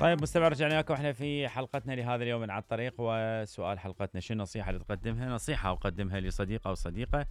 طيب مستمع، رجعنا لكم احنا في حلقتنا لهذا اليوم من على الطريق. وسؤال حلقتنا: شو النصيحة اللي تقدمها؟ نصيحة أقدمها لصديق أو صديقة،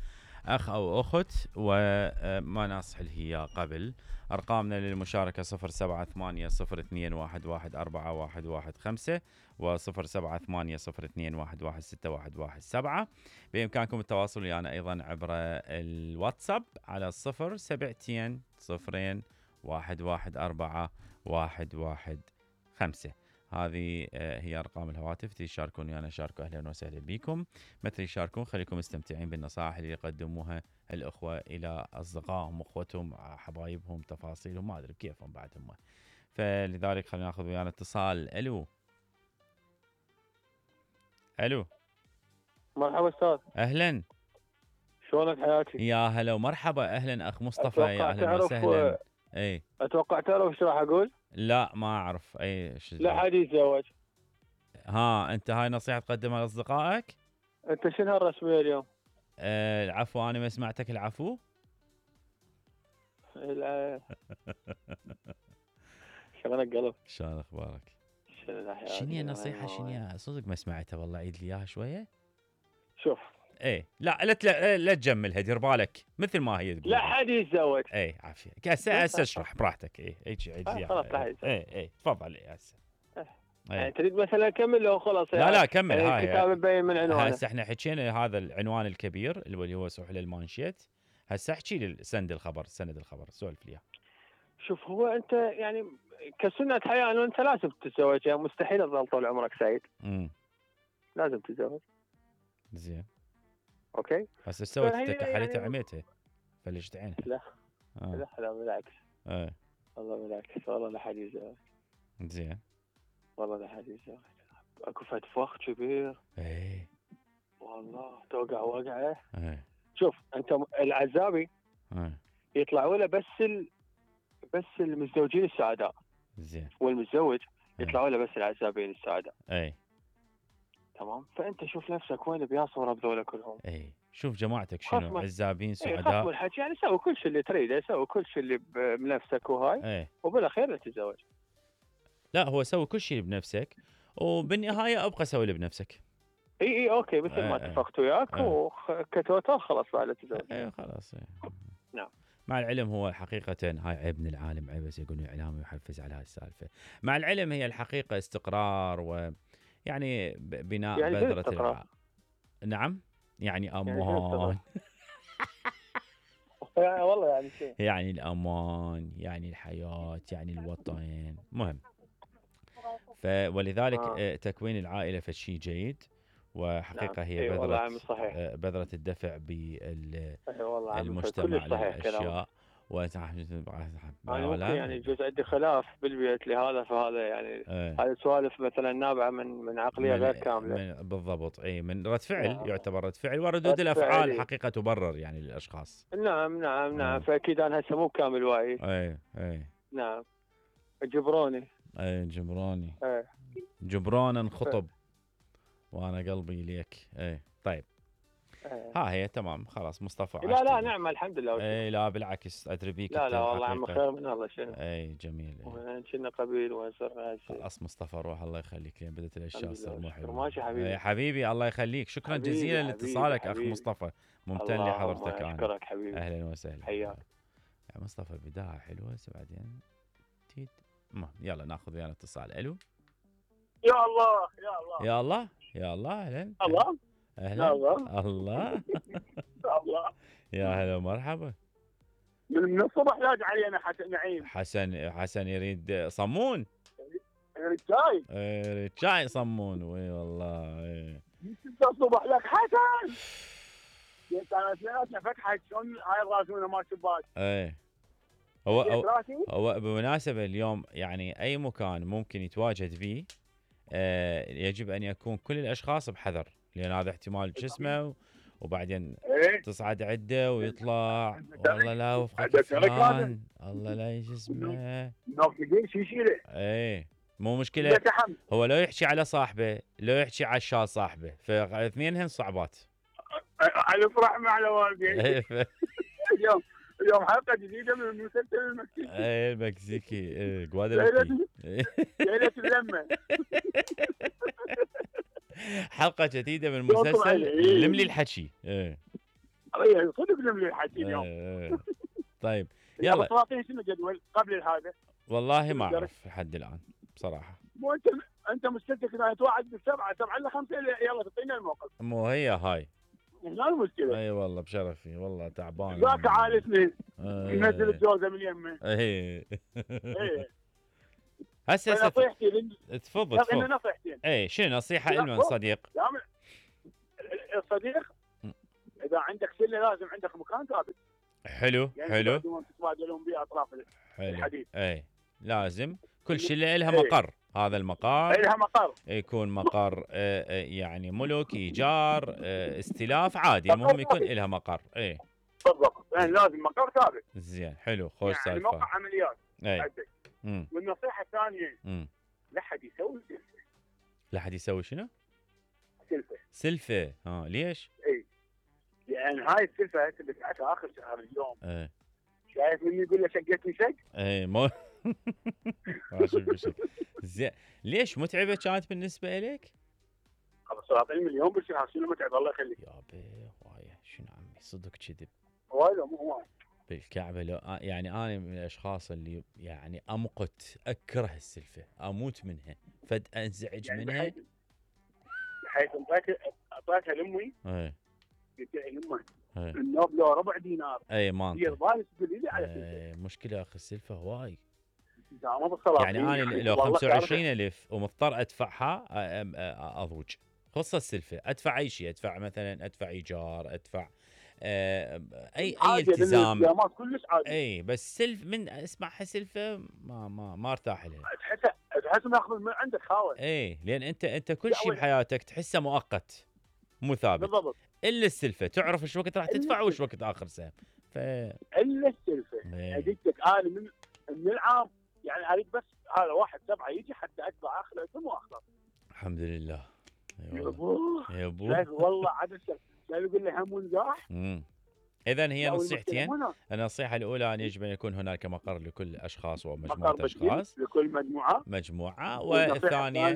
أخ أو أخت، وما نصح له إياه قبل. أرقامنا للمشاركة 078021114115 و0780211611. بإمكانكم التواصل ويانا أيضا عبر الواتساب على 0720114115. هذه هي أرقام الهواتف. تشاركون ويانا، شاركوا، أهلا وسهلا بكم. مثل يشاركون، خليكم مستمتعين بالنصائح اللي يقدموها الأخوة إلى أصدقائهم، أخوتهم، حبايبهم، تفاصيلهم، ما أدري كيفهم بعد هم. فلذلك خلينا ناخذ ويانا اتصال. ألو ألو، مرحبا أستاذ. أهلا، شلونك حياتي؟ يا هلا ومرحبا، أهلا أخ مصطفى، يا أهلا وسهلا. اي اتوقع تعرف ايش راح اقول؟ لا ما اعرف اي لا حد يتزوج. ها، انت هاي نصيحة تقدمها لاصدقائك؟ انت شنو هالرسمية اليوم؟ العفو، انا ما سمعتك. العفو. شلونك قلب؟ شلون اخبارك؟ شنو هي النصيحة؟ شنو صدق ما سمعتها والله، عيد لي اياها شوية. شوف، ايه لا لا تجملها، دير بالك مثل ما هي تقول. لا حد يتزوج. ايه عافية، هسه اشرح براحتك. ايه عيد لي خلاص ايه تفضل. ايه هسه يعني تريد مثلا اكمل لو خلاص؟ لا كمل. يعني هاي الكتاب مبين من عنوانه. هسه احنا حكينا هذا العنوان الكبير اللي هو سحل المانشيت. هسه احكي لي سند الخبر سولف لي. شوف، هو انت يعني كسنة حياة انه انت لازم تتزوج، يعني مستحيل تظل طول عمرك سعيد. لازم تتزوج. زين، اوكي. هسه سويت انت كحلتها يعني عميتها فلشت عينها. لا لا بالعكس. والله بالعكس، والله لا حد يتزوج. زين، والله لا حد يتزوج. اكو فد فخ كبير. ايه والله توقع وقعه. ايه. شوف انت، العزابي يطلعوا له بس المتزوجين السعداء. زين. والمتزوج يطلعوا له بس العزابين السعداء. اي تمام. فانت شوف نفسك وين بيصور بذولا كلهم. اي شوف جماعتك شنو عزابين سعداء. خصم الحكي يعني سوي كل شيء اللي تريده، سوي كل شيء اللي بنفسك وهاي. وبالاخير تتزوج. لا، هو سوي كل شيء بنفسك وبالنهايه ابقى سوي اللي بنفسك. اي اوكي، مثل ما اتفقت وياك وكتوتال خلاص بعد تتزوج. خلاص. نعم. مع العلم هو حقيقة هاي عيب من العالم، عيب بس يقولون إعلامي ويحفز على هاي السالفة. مع العلم هي الحقيقة استقرار، ويعني بناء يعني بذرة نعم، يعني أمان. يعني والله يعني شيء، يعني الأمان، يعني الحياة، يعني الوطن مهم. ولذلك تكوين العائلة فشي جيد، وحقيقة هي بذرة الدفع بالمجتمع للأشياء. يعني يجوز عندي خلاف بالبيت لهذا، فهذا يعني هذه سوالف مثلا نابعه من عقليه غير كامله. بالضبط. اي من رد فعل. يعتبر رد فعل، وردود الافعال حقيقه تبرر يعني للاشخاص. نعم. فاكيد انا هسه مو كامل واعي. اي نعم. جبروني. جبرانا انخطب وانا قلبي ليك. طيب. ها هي تمام خلاص مصطفى. لا نعم الحمد لله. لا بالعكس ادري بيك. لا والله عم خير من الله. شنو؟ جميل. كنا قبيل وصرنا خلاص مصطفى روح، الله يخليك، لين بدت الاشياء تصير مو حلوه. ماشي حبيبي. حبيبي الله يخليك، شكرا جزيلا لاتصالك اخ مصطفى، ممتن لحضرتك. انا اشكرك حبيبي، اهلا وسهلا. حياك يا مصطفى. بدايه حلوه بعدين يلا ناخذ ويانا اتصال. الو. يا الله اهلا. اهلا الله. يا هلا ومرحبا. من الصبح لاج علينا نعيم. حسن يريد صمون. يريد شاي صمون. وي والله. الصبح لك حسن. قلت انا سمعتنا فتحت شلون هاي الراسونه مال شباك. هو بمناسبة اليوم يعني أي مكان ممكن يتواجد فيه يجب أن يكون كل الأشخاص بحذر، لأن هذا احتمال جسمه وبعدين تصعد عده ويطلع والله لا وفقك فلان، الله لا جسمه مو مشكلة. هو لو يحكي على صاحبه، لو يحكي على الشال صاحبه، فاثنينهن صعبات. على فرح مع والدي. اليوم حلقه جديده من المسلسل المكسيكي. المكسيكي جوادالوبي. ليله اللمه. حلقه جديده من مسلسل لملي الحكي. صدق لملي الحكي اليوم. طيب يلا. تعطيني شنو جدول قبل هذا؟ والله ما اعرف لحد الان بصراحه. مو انت مشكلتك انها توعد بالسبعه 7 ل5 يلا تعطينا الموقف. مو هي هاي. هنا المشكله. اي والله بشرفي والله تعبان. ذاك عالسني. ينزل الجوزه من يمه. اي. هسه نصيحتي تفضل. نصيحتين. اي شنو نصيحه لمن صديق؟ الصديق اذا عندك سله لازم عندك مكان ثابت. حلو يعني حلو. تتبادلون به اطراف الحديث. اي لازم كل شله لها مقر. هذا المقر لها مقر يكون مقر يعني ملك ايجار استلاف عادي. المهم يكون لها مقر. اي بالضبط. يعني لازم مقر ثابت. زين حلو خوش يعني سالفه. موقع عمليات. اي. والنصيحه الثانيه لا حد يسوي سلفه. لا حد يسوي شنو؟ سلفه. ليش؟ اي لان هاي السلفه تبعتها اخر شهر اليوم. شايف من يقول له شقتني شق؟ اي مو زين ليش متعبه كانت بالنسبه لك؟ صراحه المليون بالشهر شنو متعب الله يخليك. يا وايه شنو عمي صدق كذب. وايد مو بالكعبه. لو يعني انا من الاشخاص اللي يعني امقت اكره السلفه اموت منها فد انزعج يعني منها بحيث اعطيتها لامي. قلت لها لامي النوب لو ربع دينار. اي ما دير بالك تقول لي على مشكله اخي السلفه هواي. يعني انا لو 25,000 ومضطر ادفعها اضوج. خصوصا السلفه ادفع اي شيء. ادفع مثلا ادفع ايجار ادفع اي التزام كلش عادي. اي بس سلف من اسمعها سلفه ما ارتاح لها. تحس ماخذ من عندك خاوه. اي لان انت كل شيء بحياتك تحسه مؤقت مو ثابت. بالضبط. الا السلفه تعرف ايش وقت راح تدفع وايش وقت اخر سهم. الا السلفه. اديتك انا من العام يعني اريد بس هذا 1/7 يجي حتى ادفع اخر ثم واخلص. الحمد لله. يا ابوه يا ابوه والله عاد يقول لي هم ونجاح. اذا هي نصيحتين. النصيحه الاولى ان يجب ان يكون هناك مقر لكل اشخاص ومجموعه اشخاص. لكل مجموعه. والثانيه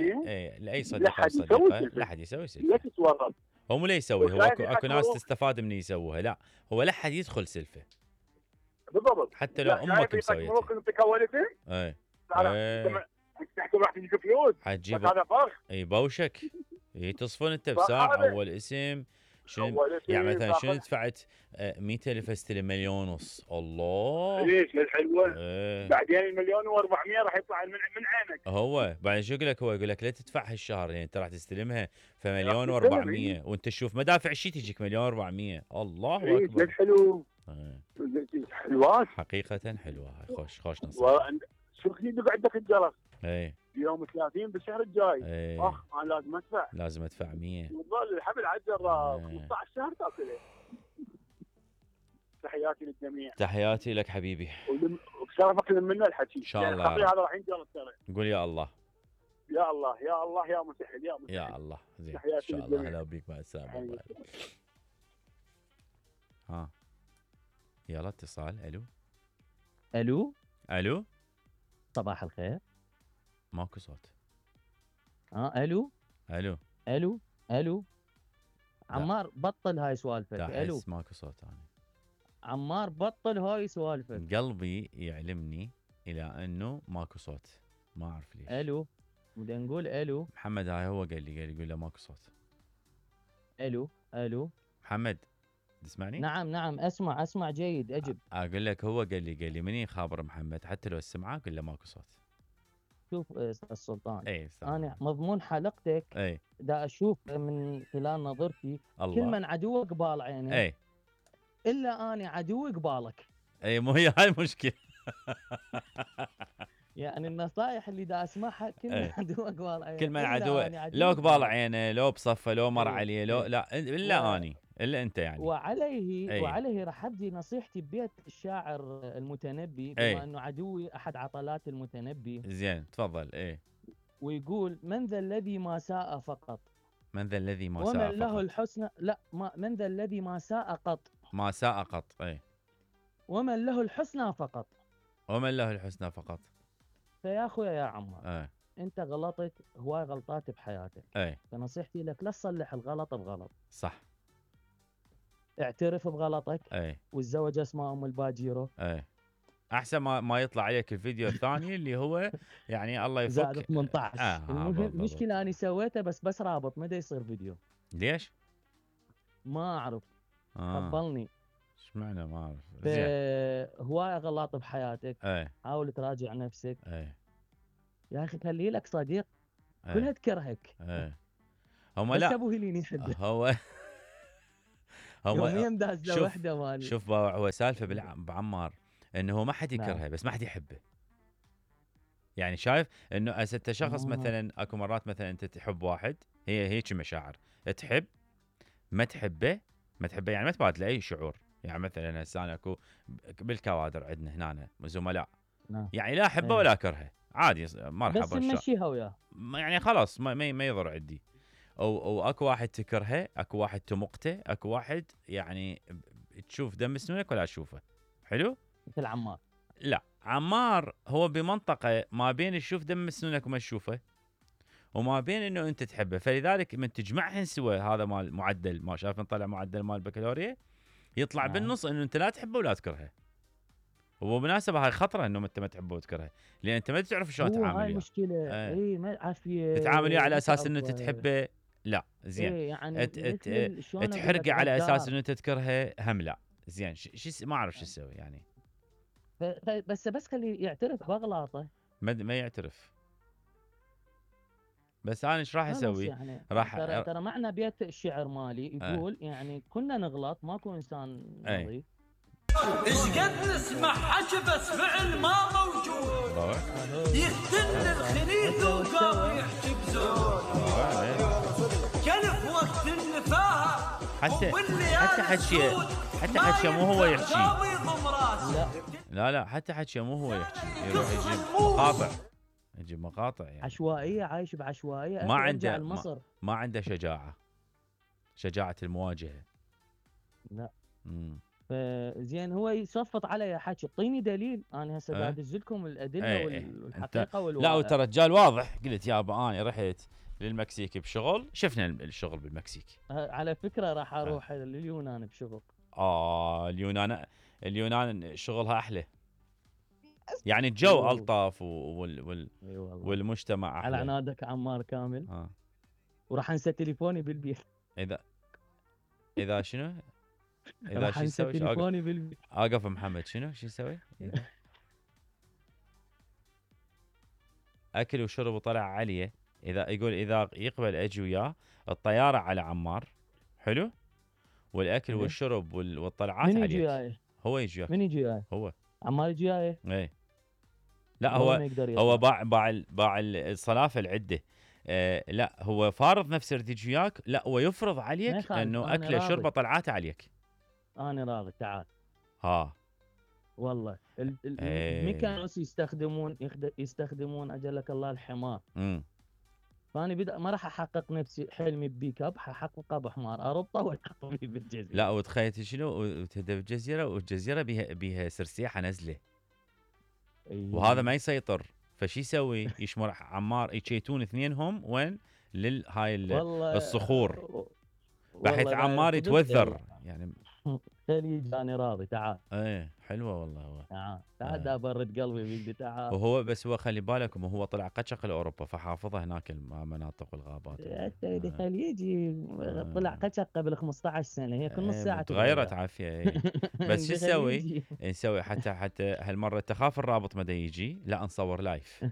لاي صديق او صديقه لا حد يسوي سلفه. لا تتورط. هو مو لا يسوي. هو اكو ناس تستفاد من يسووها. لا هو لا حد يدخل سلفه. بالضبط. حتى لو امك مسويتها. انت كولتين. تحكي راح تجيك فلوس. حتجيب هذا فرق. اي بوشك. تصفن انت بساعه اول اسم. يعني مثلا شنو دفعت 100,000 استلم 1,500,000. الله ليش الحلوه. بعدين 1,400,000 راح يطلع من عينك. هو بعدين شو يقول لك؟ هو يقول لك لا تدفع هالشهر يعني انت راح تستلمها ف1,400,000 وانت تشوف مدافع الشيء تجيك 1,400,000. الله اكبر. حلو. حلوات حقيقه حلوه. هاي خوش نصيحه. شو يدق عندك الجرس. اي يوم 30 بالشهر الجاي. انا لازم ادفع 100. والله الحبل على الجراس 15 شهر تاكله. تحياتي للجميع. تحياتي لك حبيبي. وبشرفك منا الحكي ان شاء الله. هذا راح ينجر ترى. قول يا الله. يا الله يا الله يا مسهل يا مسهل. يا الله. زين ان شاء الله. هلا بيك مع السلامه. يلا اتصال. الو صباح الخير. ماكو صوت. الو عمار بطل هاي سوالفك. الو ماكو صوت. انا عمار بطل هاي سوالفك. قلبي يعلمني الى انه ماكو صوت. ما اعرف ليش. بدنا نقول الو. محمد هاي هو قال لي يقول له ماكو صوت. الو محمد تسمعني؟ نعم اسمع جيد اجب. اقول لك هو قال لي مني خابر محمد حتى لو السمعه قل له ماكو صوت. شوف السلطان. انا مضمون حلقتك دا اشوف من خلال نظرتي الله. كل من عدوك قبال عينه الا انا عدوي قبالك. مو هي هاي المشكله. يعني النصائح اللي دا اسمعها كل من عدوه قبال عينه. كل من عدوه لو قبال عينه لو بصفه لو مر عليه لو لا الا اني الا انت يعني. وعليه راح ابدي نصيحتي ببيت الشاعر المتنبي بما انه عدوي احد عطلات المتنبي. زين تفضل. ويقول من ذا الذي ما ساء فقط. من ذا الذي ما ساء ومن له الحسنى. لا من ذا الذي ما ساء قط. ما ساء قط. ومن له الحسنى فقط. ومن له الحسنى فقط. فيا اخويا يا عمار، انت غلطت هواي غلطات بحياتك، فنصيحتي لك لا تصلح الغلط بغلط. صح. اعترف بغلطك. والزوجة اسمها ام الباجيرو. احسن ما يطلع عليك الفيديو الثاني اللي هو يعني الله يفك زائد 18. المشكلة اني سويته بس رابط ما دا يصير فيديو. ليش؟ ما اعرف. قبلني. ايش معنى ما اعرف. هواي غلط بحياتك. حاول تراجع نفسك. يا اخي خلي لك صديق كلها تكرهك. هم بس لا ابو هيلين يحبك. هو يوميا دازله وحده مالي. شوف هو سالفه بعمار انه ما حد يكرهه بس ما حد يحبه. يعني شايف انه انت شخص مثلا اكو مرات مثلا انت تحب واحد، هي هيك مشاعر، تحب ما تحبه يعني ما تبادله اي شعور. يعني مثلا هسه انا اكو بالكوادر عندنا هنا زملاء يعني لا احبه ولا اكرهه، عادي مرحبا بس نمشيها وياه، يعني خلاص ما يضر عندي. او اكو واحد تكرهه، اكو واحد تمقته، اكو واحد يعني تشوف دم سنونك ولا تشوفه. حلو. مثل عمار. لا عمار هو بمنطقه ما بين تشوف دم سنونك وما تشوفه، وما بين انه انت تحبه، فلذلك من تجمعهن سوا هذا مال معدل، ما شايف نطلع معدل مال البكالوريا يطلع بالنص انه انت لا تحبه ولا تكرهه. وبالمناسبه هاي خطره انه انت ما تحبه وتكرهه، لان انت ما تعرف شلون تتعامل وياه. هاي مشكله. ما عافيه تتعامل وياه على اساس انه انت تحبه، لا زين. يعني تحرقه على اساس انه انت تكرهه، هم لا زين. ما اعرف شو اسوي يعني. بس خليه يعترف باغلاطه. ما يعترف. بس انا ايش راح اسوي؟ يعني ترى معنا بيت الشعر مالي يقول يعني كنا نغلط، ماكو انسان نظيف. ايش قد نسمع حكي بس فعل ما موجود، يختن الخليل وقام يحكي بزور، كلف وقت النفاهه حتى حكي مو هو يحكي. لا حتى حكي مو هو يحكي، يروح يجيب مقاطع يعني عشوائيه، عايش بعشوائيه. ما عنده ما عنده شجاعه المواجهه. لا فزين هو يصفط علي حكي، اعطيني دليل. انا هسه قاعد ادز لكم الادله والحقيقه والواقع. لا وترى رجال واضح. قلت يابا انا رحت للمكسيك بشغل، شفنا الشغل بالمكسيك. على فكره راح اروح لليونان بشغل. اليونان شغلها احلى، يعني الجو الطف والمجتمع احلى. على عنادك عمار كامل. وراح انسى تليفوني بالبيت. اذا شنو؟ اذا شو اسوي؟ تليفوني بالبيت. اقف محمد شو اسوي؟ اكل وشرب وطلع عليه. اذا يقول اذا يقبل اجي وياه الطياره على عمار، حلو، والاكل والشرب والطلعات عليه. من يجي وياي؟ هو يجي وياك. من يجي وياي؟ هو عمار يجي وياي. لا هو باع الصلافه العده. لا هو فارض نفسه يجي وياك، لا هو يفرض عليك انه اكله شربه طلعات عليك. انا راضي. تعال. والله الميكانوس يستخدمون اجلك الله الحمار. فاني ما راح احقق نفسي حلمي ببيك اب، ححققه بحمار اربطه والحقه بيه بالجزيره. لا وتخيل شنو وتهدى بالجزيره، والجزيره بيها سرسيحه نزله. وهذا ما يسيطر، فشي يسوي؟ يشمر عمار يشيتون اثنينهم وين؟ للهاي الصخور، بحيث عمار يتوذر يعني. خليج انا راضي. تعال. حلوه والله. هو تعال دا برد قلبي بيدي. تعال. وهو بس هو خلي بالك هو طلع قشق لاوروبا، فحافظه هناك المناطق والغابات. حتى خليجي طلع قشق قبل 15 سنه، هي كل نص ساعه تغيرت عافيه. بس شو نسوي؟ حتى هالمره تخاف الرابط مدى يجي، لا نصور لايف.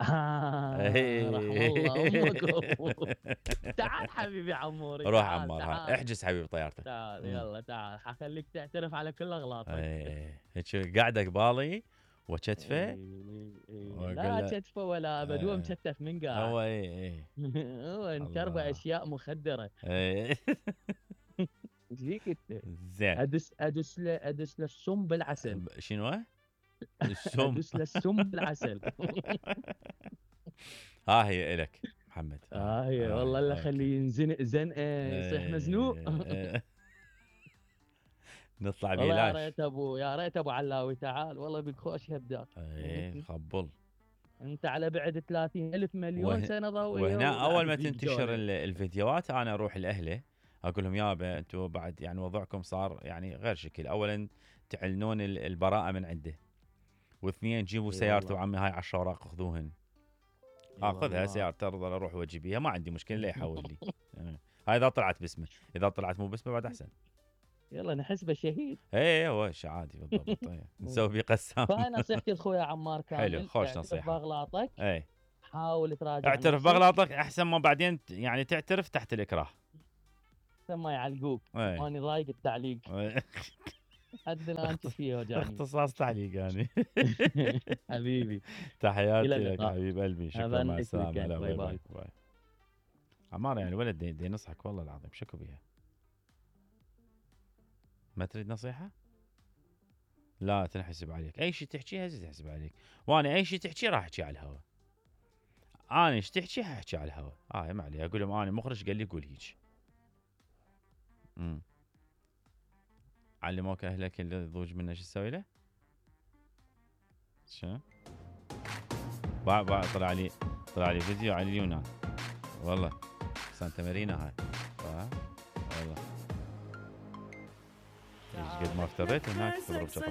رحم الله امكم. تعال حبيبي عموري. روح عمار، احجز حبيبي طيارتك. تعال يلا تعال، حخليك تعترف على كل اغلاطك. هيك قاعده قبالي وكتفه. لا كتفه ولا ابد، هو مكتف من قاعد. هو هو نشربه اشياء مخدره. ايش فيك انت؟ زين. ادس له السم بالعسل. شنو؟ السم. ادس له السم بالعسل. هي الك محمد. هي والله الا خليه ينزنق زنقه يصيح مزنوق. نطلع والله بلاش. يا ريت ابو علاوي تعال والله بك خوش هبداك. اي خبل. انت على بعد 30,000 مليون سنه ضوئيه. وهنا اول ما تنتشر الفيديوهات انا اروح لاهله اقول لهم يابا انتم بعد يعني وضعكم صار يعني غير شكل. اولا تعلنون البراءه من عنده، واثنين جيبوا سيارته عمي هاي 10 اوراق خذوهن. اخذها سيارته ارضى اروح واجي بيها ما عندي مشكله لا يحول لي. هاي اذا طلعت باسمه، اذا طلعت مو باسمه بعد احسن. يلا نحسبه شهيد. ايه هو شيء عادي بالضبط. نسوي بيه قسام. فهاي نصيحتي لاخويا عمار كامل. حلو خوش نصيحه. باغلاطك. ايه حاول تراجع. اعترف باغلاطك احسن ما بعدين يعني تعترف تحت الاكراه. ثم يعلقوك. ماني ضايق التعليق. حد الان فيه وجعني. اختصاص تعليق يعني. حبيبي تحياتي لك حبيب قلبي. شكرا مع السلامه. باي باي. عمار يعني الولد دي ينصحك والله العظيم شكو بيها. ما تريد نصيحه؟ لا تنحسب عليك اي شيء تحكيه هسه تحسب عليك، وانا اي شيء تحكيه راح احكيه على الهواء. انا ايش تحكي حاحكي على الهواء. ما عليه اقول لهم انا مخرج قال لي قول هيك. علموك اهلك اللي يضوج منه شو تسوي له؟ شو؟ طلع لي فيديو على اليونان والله سانتا مارينا هاي. والله ايش قد ما افتريت هناك تضرب